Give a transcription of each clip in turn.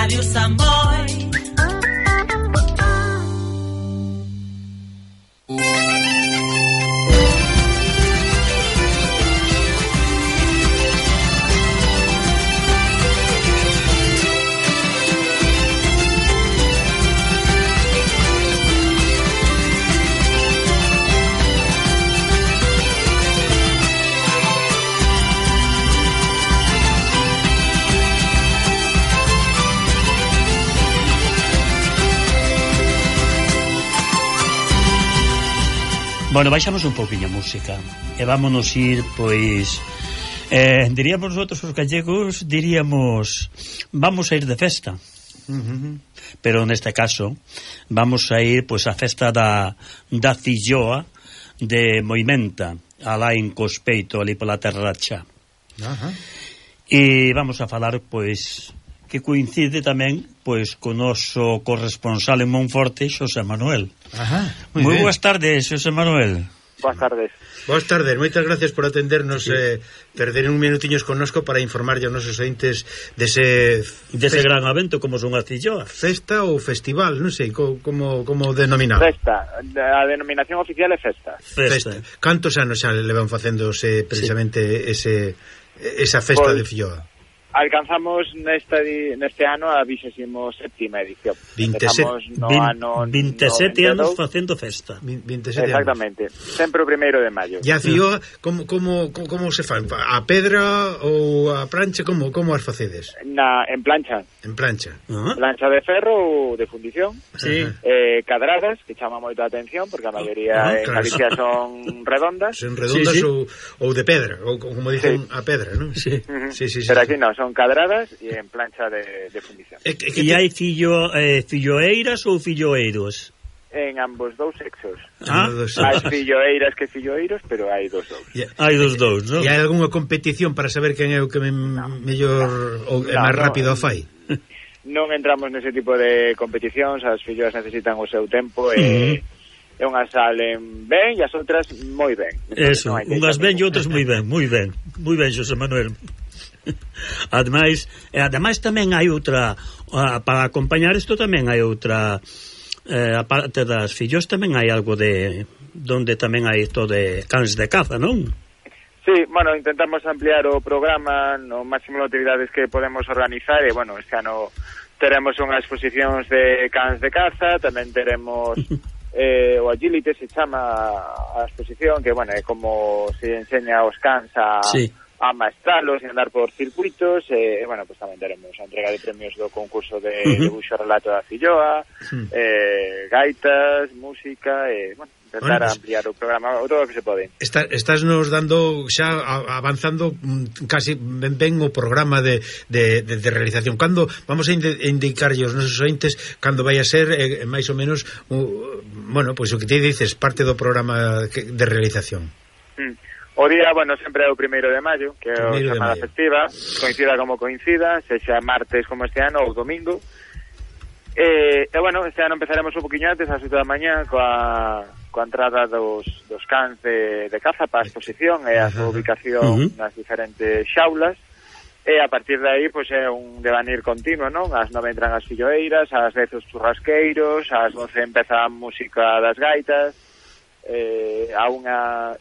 Radio Samboy. Bueno, baixamos un pouquinho a música e vámonos ir, pois diríamos nosotros os gallegos, diríamos vamos a ir de festa. Pero neste caso vamos a ir pois a festa da Filloa de Moimenta, alá en Cospeito, ali pola Terracha. E vamos a falar pois que coincide tamén pois co noso corresponsal en Monforte, Xosé Manuel. Moi boas tardes, Xosé Manuel. Boas tardes. Boas tardes, moitas gracias por atendernos, perder un minutiños connosco para informar aos nosos ointes dese gran evento como son as Filloas. Festa ou festival, non sei como denominado. Festa, a denominación oficial é festa. Cantos anos xa levan facéndose precisamente esa festa de Filloa? Alcanzamos neste ano a 27ª edición. 27 anos facendo festa. 27 exactamente. Anos. Sempre o 1º de maio. E a Filloa, como se fan? A pedra ou a plancha? Como as facedes? En plancha. En plancha. Plancha de ferro ou de fundición. Sí. Cadradas, que chama moito a atención, porque a maioría en Galicia son redondas. Son redondas ou de pedra, ou como dicen a pedra, non? Sí. Pero aquí non, son cadradas e en plancha de fundición. E hai filloeiras ou filloeiros? En ambos dous sexos. Hai filloeiras que filloeiros, pero hai dos dous. Hai dos dous, non? E hai algunha competición para saber quen é o que mellor ou máis rápido a fai? Non entramos nese tipo de competicións, as filloas necesitan o seu tempo e unhas salen ben e as outras moi ben. Eso, unhas ben e outras moi ben, Xosé Manuel. Ademais tamén hai outra para acompañar isto tamén hai outra aparte das fillos tamén hai algo de donde tamén hai isto de cans de caza, non? Sí, bueno, intentamos ampliar o programa no máximo de actividades que podemos organizar e, bueno, este ano teremos unhas exposicións de cans de caza, tamén teremos o agility, se chama a exposición, que, bueno, é como se enseña aos cans a maestralos e andar por circuitos e, bueno, pues tamén teremos a entrega de premios do concurso de debuxo relato da Filloa, gaitas, música e, bueno, intentar ampliar o programa todo o que se pode. Estás nos dando xa avanzando casi ben o programa de realización. Cando vamos a indicarlle aos nosos ointes cando vai a ser máis ou menos bueno, pois o que te dices, parte do programa de realización. O día, bueno, sempre é o 1º de maio, que é a xornada festiva, coincida como coincida, sexa martes como este ano ou domingo. E bueno, este ano empezaremos un poquinho antes, ás 8 da mañá, coa entrada dos cans de caza para a exposición e a súa ubicación nas diferentes xaulas. E a partir de aí, pois é un devanir continuo, non? Ás 9 entran as filloeiras, ás 10 os churrasqueiros, ás 12 empeza a música das gaitas, a unha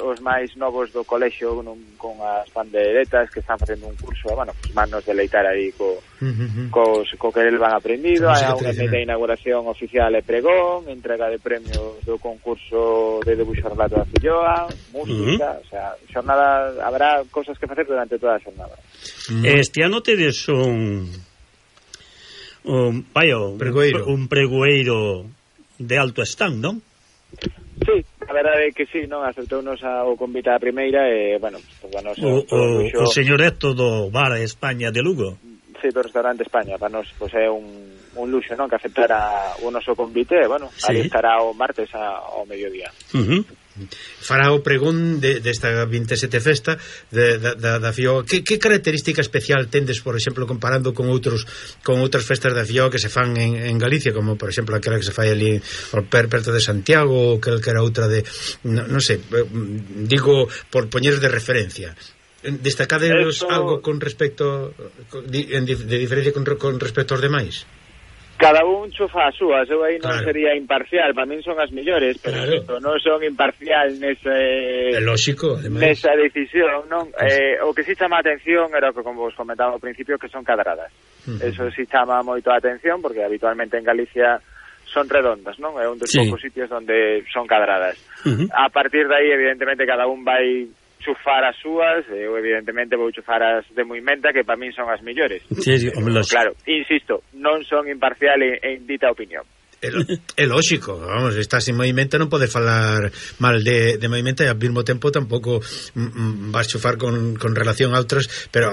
os máis novos do colexio con as pandeiretas que están facendo un curso, bueno, pues manos de leitar aí co que el van aprendido. Hai unha de inauguración oficial e pregón, entrega de premios do concurso de debuxo relato da Filloa, música, o sea, xornada, habrá cosas que facer durante toda a xornada. Este ano tedes un pregoeiro de alto stand, non? Sí, a verdade é que sí, non? Aceptounos o convite a primeira e, bueno, pues, o señor Héctor do Bar España de Lugo. Sí, do restaurante España, para nos, pues, é un luxo, non? Que aceptara o noso convite, bueno, ali estará o martes ao mediodía. Fará o pregón desta 27 festa da Filloa. Que característica especial tendes, por exemplo, comparando con outras festas da Filloa que se fan en Galicia, como por exemplo aquela que se fai ali perto de Santiago, ou que era outra de non sei, digo por poñeros de referencia. Destacaderos algo con respecto de diferencia con respecto aos demais? Cada un chufa as súas, eu aí non sería imparcial, para min son as mellores, pero non son imparcial lógico, nesa decisión, non? O que si chama a atención era o que, como vos comentaba ao principio, que son cadradas. Eso si chama moito a atención, porque habitualmente en Galicia son redondas, non? É un dos poucos sitios onde son cadradas. A partir de aí, evidentemente, cada un vai chufar as súas, eu evidentemente vou chufar as de Moimenta, que para min son as mellores. Claro, insisto, non son imparcial en dita opinión. É lógico, vamos, estás en Moimenta, non podes falar mal de Moimenta e ao mesmo tempo tampouco vas chufar con relación a outras, pero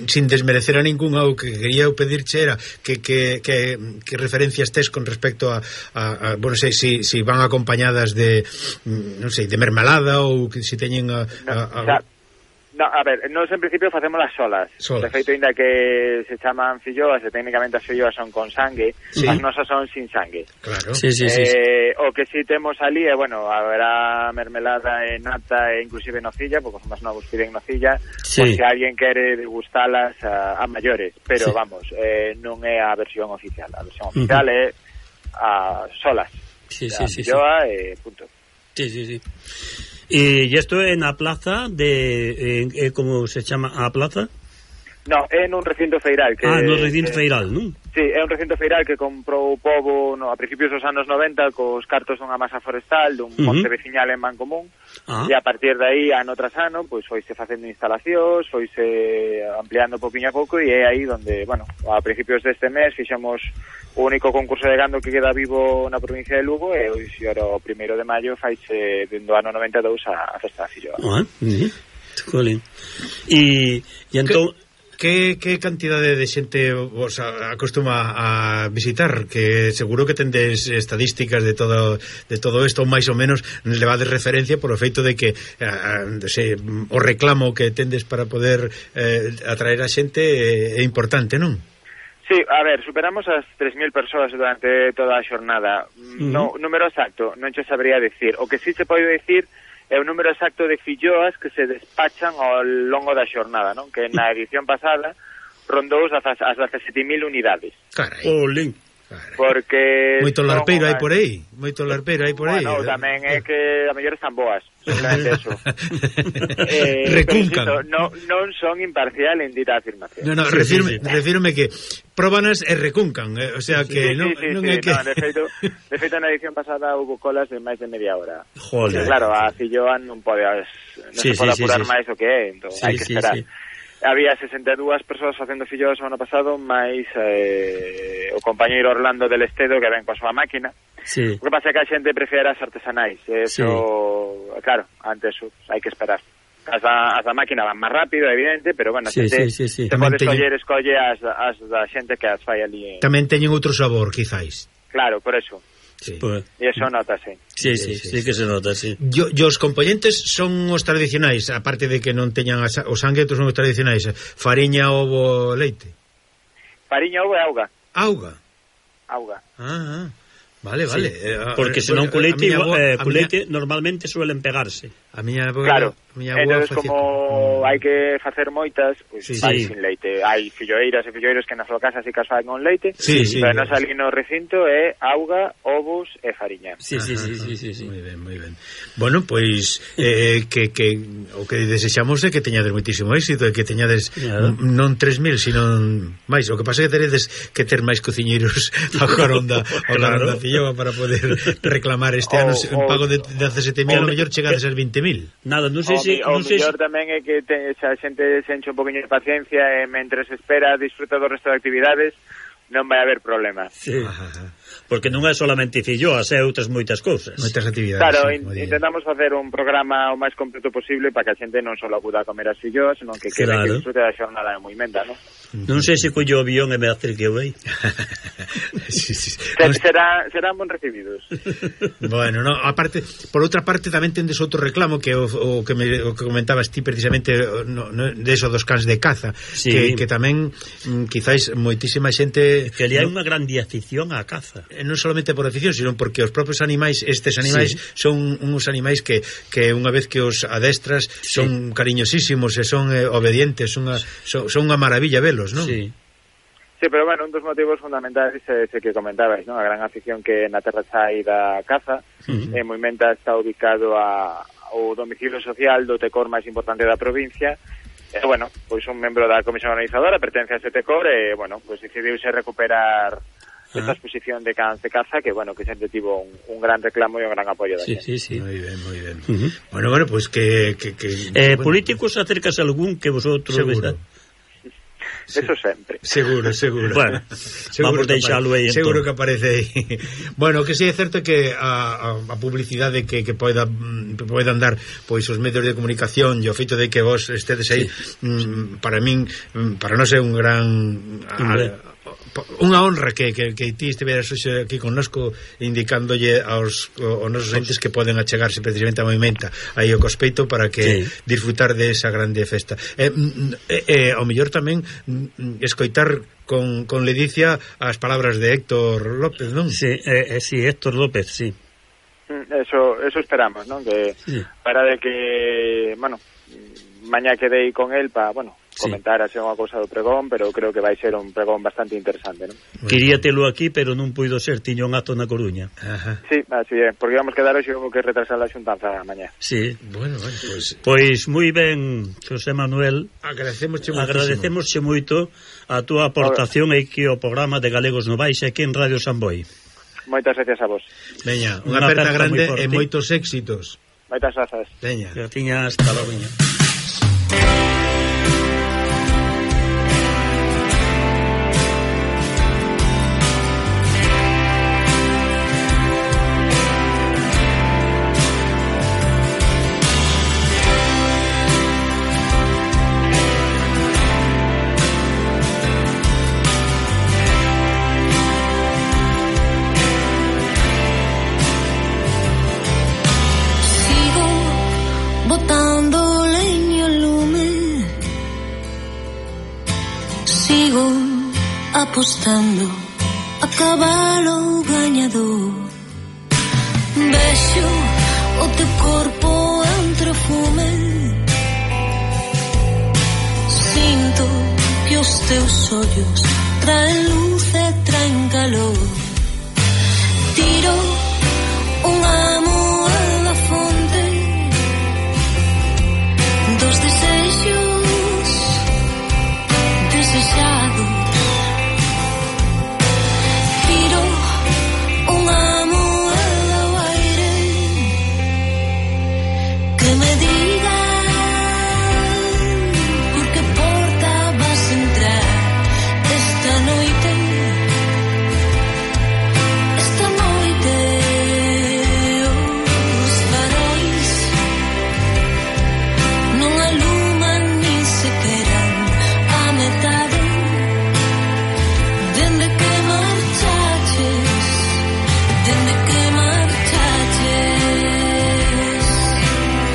sin desmerecer a ningún. O que quería pedirche era que referencias tes con respecto a bueno, sei si van acompañadas de non sei, de mermelada ou que si teñen No, a ver, nós en principio facemos las solas. De feito, ainda que se chaman filloas, e técnicamente as filloas son con sangue, as nosas son sin sangue. Claro. O que si temos ali é, bueno, haberá mermelada e nata e inclusive nocilla, porque os máis novos piden nocilla, por se alguén quere degustalas a maiores, pero vamos, non é a versión oficial. A versión oficial é a solas. Filloa e punto. Sí. E isto é na plaza de como se chama a plaza? No, é nun recinto feiral que no recinto feiral, non? Sí, é un recinto feiral que comprou o pobo a principios dos anos 90 cos cartos dunha masa forestal dun monte veciñal en Mancomún, e a partir de aí, ano tras ano, pois foise facendo instalacións, foise ampliando pouquinho a pouco, e é aí onde, bueno, a principios deste mes fixemos o único concurso de gando que queda vivo na provincia de Lugo, e hoxe, o 1 de maio, faise dentro do ano 92 a festa da filloa. E entón... Que cantidade de xente vos acostuma a visitar? Que seguro que tendes estadísticas de todo isto, máis ou menos levades referencia por o feito de que o reclamo que tendes para poder atraer a xente é importante, non? Sí, a ver, superamos as 3.000 persoas durante toda a xornada. Número exacto non che sabría decir. O que sí se pode decir é o número exacto de filloas que se despachan ao longo da xornada, non? Que na edición pasada rondou as 17.000 unidades. Carai. Olín. Porque moito larpeiro hai por aí. Bueno, tamén é que a mellor están boas, simplemente eso. Recuncan. Non son imparcial en dita afirmación. No, refírome que próbanas e recuncan, o sea que non é que... de feito na edición pasada hubo colas de máis de media hora. Joder. Claro, a filloa non se pode apurar máis o que é, entón hai que esperar. Había 62 persoas facendo filloas o ano pasado, máis o compañeiro Orlando del Estedo, que ven coa súa máquina. O que pasa é que a xente prefere as artesanais. Eso, claro, antes hai que esperar. As da máquina van máis rápido, evidente, pero bueno, se pode escolle as da xente que as fai ali. Tamén teñen outro sabor, quizáis. Claro, por eso. E eso notase. Sí que se nota, sí. E os componentes son os tradicionais, aparte de que non teñan o sangue, son os tradicionais: fariña, ovo, leite. Fariña, ovo e auga. Auga. Vale. Porque senón culeite normalmente suelen pegarse. A miña avó, claro. Entonces, como hai que facer moitas, pois vai sin leite. Hai filloeiras e filloeiros que na súa casa si que as fan con leite, pero nos ali no recinto é auga, ovos e fariña. Sí. Moi ben. Bueno, pois que o que desexamos é que teñades moitísimo éxito, e que teñades non 3.000, sino máis. O que pasa é que teredes que ter máis cociñeiros a Coronda Filloa para poder reclamar este ano un pago de 17.000, a lo mellor chegades aos 20.000. Nada, non sei o mellor tamén é que a xente se enche un poquinho de paciencia e mentre se espera disfruta do resto de actividades, non vai haber problema. Porque non é solamente filloas, é outras moitas cousas. Moitas actividades. Claro, intentamos facer un programa o máis completo posible para que a xente non só acuda a comer as filloas, senón que quede que disfrute da xornada de Moimenta, non? Non sei se collo o avión e me acerque eu aí. Serán bon recibidos. Bueno, aparte, por outra parte tamén tendes outro reclamo que o que comentabas ti precisamente de eso dos cans de caza, que tamén quizáis moitísima xente que ali hai unha grande afición á caza. non solamente por afición, sino porque os propios animais, estes animais, son uns animais que unha vez que os adestras son cariñosísimos e son obedientes, son unha maravilla velos, non? Sí, pero bueno, un dos motivos fundamentais é ese que comentabais, non? A gran afición que na terra chai da caza. Moimenta está ubicado ao domicilio social do tecor máis importante da provincia. E, bueno, pois un membro da comisión organizadora pertence a ese tecor e, bueno, pois decidiuse recuperar esta exposición de cans de caza que, bueno, que sempre tivo un gran reclamo e un gran apoio da gente. Sí. Moi ben. Bueno, pois que políticos acércase algún que vosotros... Seguro. Eso sempre. Seguro. Bueno, vamos deixalo aí. Seguro que aparece aí. Bueno, que sí é certo que a publicidade que poidan dar pois os medios de comunicación e o feito de que vos estedes aí, para min, para nós é un gran... unha honra que ti estiveras hoxe aquí connosco indicándolle aos nosos entes que poden achegarse precisamente a Moimenta aí o Cospeito para que disfrutar de esa grande festa. Ao mellor tamén escoitar con ledicia as palabras de Héctor López, non? Sí, Héctor López, sí. Eso esperamos, non? Que para de que, bueno, mañá quedei con el para, bueno, comentar así unha cousa do pregón, pero creo que vai ser un pregón bastante interesante, non? Quería telo aquí, pero non puido ser, tiño un acto na Coruña. Sí, así é, porque íbamos quedar hoxe que retrasar a xuntanza mañá. Sí. Bueno, pois moi ben, José Manuel. Agradecemosche moito a túa aportación aquí ao programa de Galegos Novais aquí en Radio Samboy. Moitas gracias a vos. Veña, unha aperta grande e moitos éxitos. Moitas grazas. Veña. Graciñas, hasta logo. Apostando a cabalo gañador. Vexo o teu corpo entre o fume, sinto que os teus ollos traen luz e traen calor. Tiro